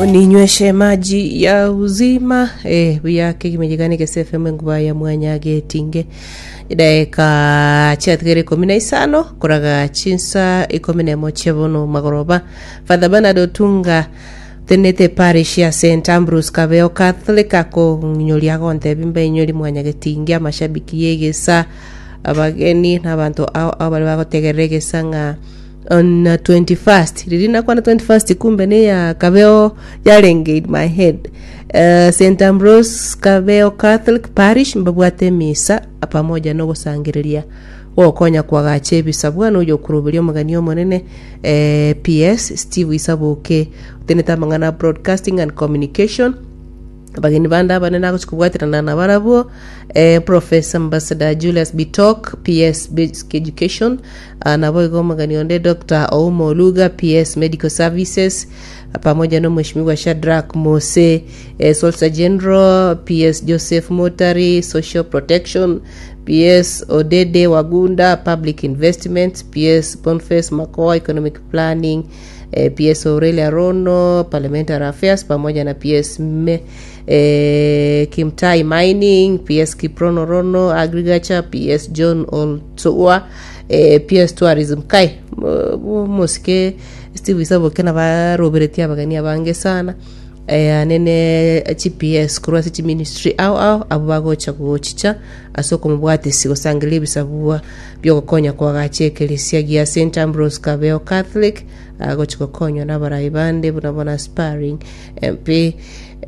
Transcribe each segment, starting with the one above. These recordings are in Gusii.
Uninyweshe maji ya uzima eh, buya kegima gigane gese FM enguba ya mwanya getinge daeka chiatigere 15 koraga chinsa 11 chia bono magoroba. Father Bernard Otunga tenete parish ya St Ambrose Kabeo Catholic akong'inyoria agontebi mbainyori mwanya getinge amashabiki yegesa abageni na abanto ao ao baria bagotegerera egesa ng'a On 21st riria nakwana 21st kumbe neya Kabeo yarenge in my head. Eh, St Ambrose Kabeo Catholic Parish mbabwate emisa pamoja nogosangereria gokonya kwagacha ebisabwa na oyokuroberia omogeni omonene eh, PS Steve Isaboke otenete amang'ana a Broadcasting and Communication. Abageni bande abanene agochia kobwaterana nabarabwo eh, Professor Ambassador Julius Bitok PS Basic Education ah, naboigo omogeni onde Dr. Ouma Oluga PS Medical Services pamoja na Omweshimiwa Shadrack Mose eh, Solicitor General PS Joseph Motari Social Protection PS Odede Wagunda Public Investments PS Boniface Makoa Economic Planning eh, PS Aurelia Rono Parliamentary Affairs pamoja na PS Me, eh, Kimtai Mining, PS Kiprono Rono Agriculture, PS John Oltua, eh, PS Tourism kai mo- mosike Steve Isaboke nabaroberetie abageni abange sana eh, anene chi-PS korwa ase chiministry ao ao abwo bagocha gochicha ase okomobwatisi gosangereria ebisabua biogokonya koagacha ekeresia gia St Ambrose Kabeo Catholic agochi gokonywa nabarai bande buna bono aspiring MP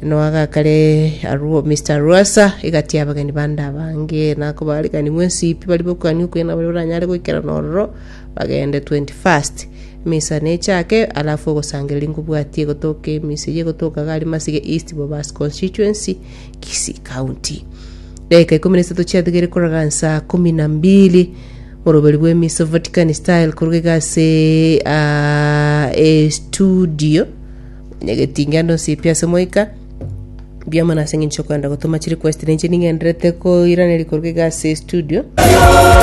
noagakare arwo Mr Rwasa egati y'abageni bande abange nakobarikani mwensi pi bari bokwania okuya nabari oranyare goikerana ororo bagende 21st emisa nechake alafu ogosangereria nkobwatie egotoka emisa eye egotoka iga aria Masige East Bobasi Constituency Kisii County. Dakika ikomi na isato chiatigaire koraga nsaa kumi na mbili moroberi bw'emisa Vatican style koruga iga ase ah, estudio nyagetinge ande onsi pi ase moika mbuya mono ase eng'encho okogenda gotoma chirequest ninche ning'enderete koiraneria koruga iga ase estudio.